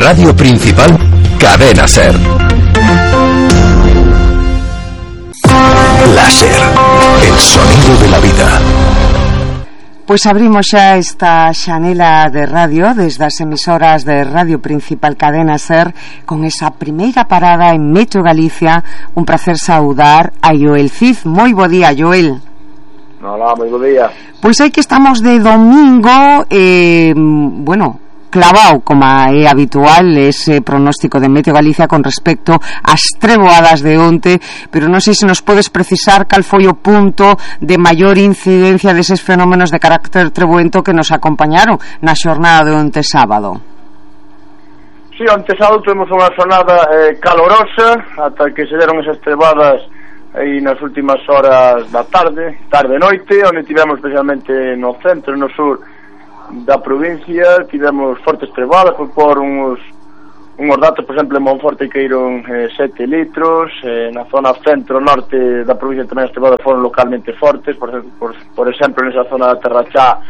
radio principal, Cadena Ser. Láser, el sonido de la vida. Pois abrimos xa esta xanela de radio desde as emisoras de Radio Principal Cadena Ser con esa primeira parada en Metro Galicia. Un placer saudar a Joel Cid. Moi bo día, Joel. Hola, moi bo día. Pois aí que estamos de domingo, clavado, como é habitual, ese pronóstico de Meteo Galicia con respecto ás treboadas de onte, pero non sei se nos podes precisar cal foi o punto de maior incidencia deses fenómenos de carácter treboento que nos acompañaron na xornada de onte sábado. Sí, onte sábado tuvemos unha xornada calorosa ata que se deron esas treboadas aí nas últimas horas da tarde-noite, onde tivemos especialmente no centro e no sur da provincia. Tivemos fortes treboadas, por uns datos, por exemplo, en Monforte caíron 7 litros, na zona centro-norte da provincia tamén as treboadas foron localmente fortes, por exemplo, nesa zona da Terrachá,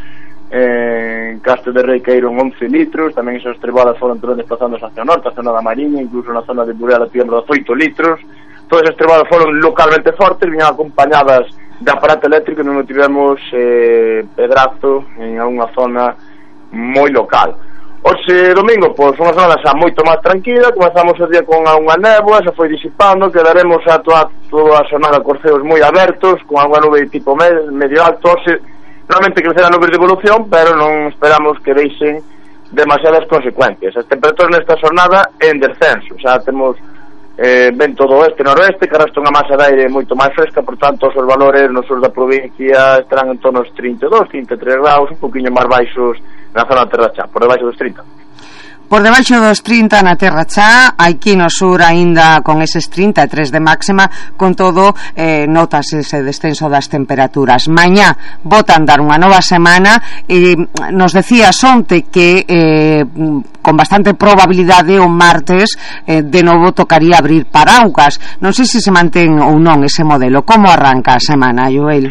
en Castro de Rei caíron 11 litros, tamén esas treboadas foron tamén desplazándose hacia o norte, a zona da Mariña, incluso na zona de Burela tivemos 8 litros. Todas esas treboadas foron localmente fortes, viñan acompañadas de aparato eléctrico, non tivemos pedrazo en unha zona moi local. Hoxe domingo, pois unha zona xa moito máis tranquila, comezamos o día con unha néboa, se foi disipando, quedaremos a toda a xornada cos ceos moi abertos, con unha nube tipo medio alto. Hoxe realmente crecerá nubes de evolución, pero non esperamos que deixen demasiadas consecuencias. As temperaturas nesta xornada en descenso, xa temos vento do oeste-noroeste, que arrastra unha masa de aire moito máis fresca, por tanto os valores no sur da provincia estarán en torno aos 32, 33 graus, un poquinho máis baixos na zona da Terrachá, por debaixo dos 30. Por debaixo dos 30 na Terrachá, aquí no sur aínda con eses 33 de máxima, con todo notas ese descenso das temperaturas. Mañá botan dar unha nova semana, nos decías onte que con bastante probabilidade o martes de novo tocaría abrir paraugas. Non sei se mantén ou non ese modelo. Como arranca a semana, Joel?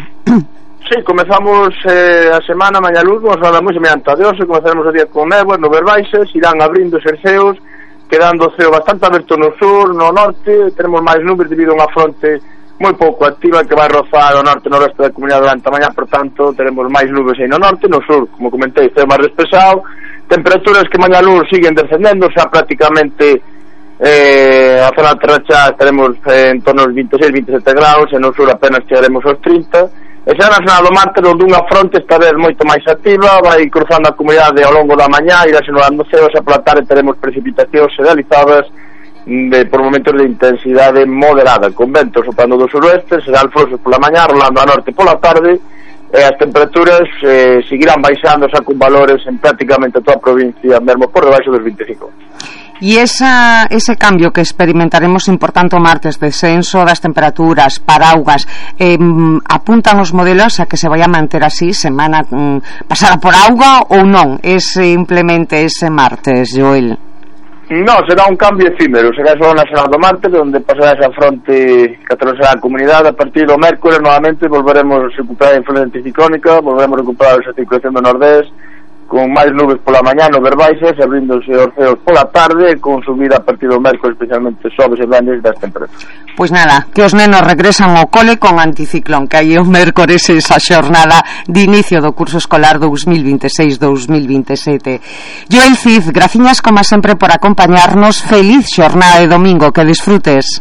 Sí, comezamos a semana mañá luz, vamos a dar moi semelhante a de hoxe. Comezaremos o día con néboas, nubes baixas, irán abrindo os ceos, quedando o ceo bastante aberto no sur, no norte. Tenemos máis nubes debido a unha fronte moi pouco activa que vai rozar o norte-noroeste da comunidade durante a mañá, por tanto, teremos máis nubes aí no norte, no sur, como comentei, ceo máis despexado. Temperaturas que mañá luz siguen descendendo, xa prácticamente a zona de Terrachá estaremos en torno aos 26-27 graus, e no sur apenas chegaremos aos 30. E xa na zona do martes, onde unha fronte esta vez moito máis activa, vai cruzando a comunidade ao longo da mañá, irá xenerando ceos, e pola tarde teremos precipitacións generalizadas por momentos de intensidade moderada, con ventos soprando do suroeste, serán frosos pola mañá, rolando a norte pola tarde, e as temperaturas seguirán baixando xa con valores en prácticamente toda a provincia, mesmo por debaixo dos 25. E ese cambio que experimentaremos importante o martes, descenso das temperaturas, paraugas, apuntan os modelos a que se vai a manter así semana pasada por auga ou non? É simplemente ese martes, Joel? Non, será un cambio efímero, será só na semana do martes, onde pasará esa fronte que atravesará a comunidade. A partir do mércoles novamente volveremos a recuperar a influencia anticiclónica, volveremos a recuperar esa circulación do nordés, con máis nubes pola mañá, nubes baixas, abríndose os ceos pola tarde, con subida a partir do mércoles, especialmente sobes e venres das temperaturas. Pois nada, que os nenos regresan ao cole con anticiclón, que hai o mércoles esa xornada de inicio do curso escolar 2026-2027. Joel Cid, graciñas como sempre por acompañarnos. Feliz xornada de domingo, que disfrutes.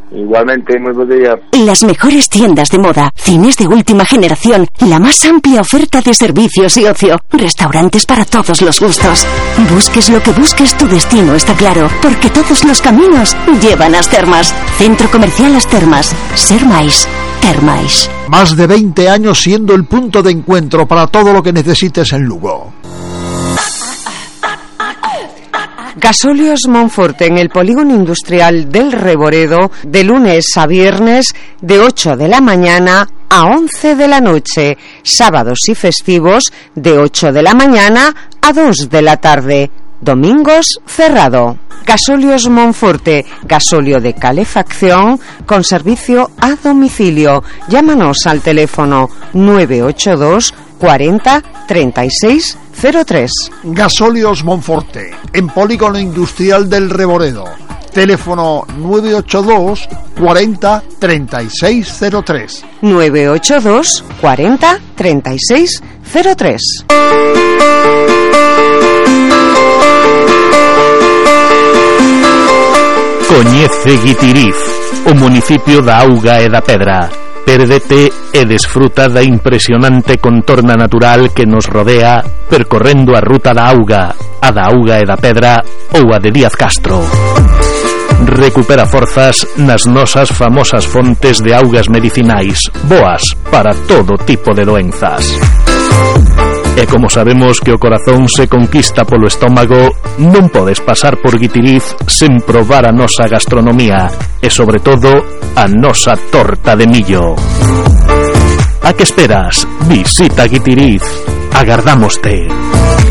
Igualmente, muy buen día. Las mejores tiendas de moda, cines de última generación, la más amplia oferta de servicios y ocio, restaurantes para todos los gustos. Busques lo que busques, tu destino está claro, porque todos los caminos llevan a As Termas. Centro Comercial As Termas. Ser máis, ter máis. Más de 20 años siendo el punto de encuentro para todo lo que necesites en Lugo. Gasóleos Monforte, en el polígono industrial del Reboredo, de lunes a viernes, de 8 de la mañana a 11 de la noche, sábados y festivos, de 8 de la mañana a 2 de la tarde, domingos cerrado. Gasóleos Monforte, gasóleo de calefacción con servicio a domicilio. Llámanos al teléfono 982 40 36 03. Gasóleos Monforte, en Polígono Industrial del Reboredo. Teléfono 982 40 36 03. 982 40 36 03. Coñece Guitiriz, o municipio da Auga e da Pedra. Pérdete e desfruta da impresionante contorna natural que nos rodea percorrendo a ruta da Auga, a da Auga e da Pedra ou a de Díaz Castro. Recupera forzas nas nosas famosas fontes de augas medicinais, boas para todo tipo de doenzas. E como sabemos que o corazón se conquista polo estómago, non podes pasar por Guitiriz sen probar a nosa gastronomía e, sobre todo, a nosa torta de millo. A que esperas? Visita Guitiriz. Agardámoste.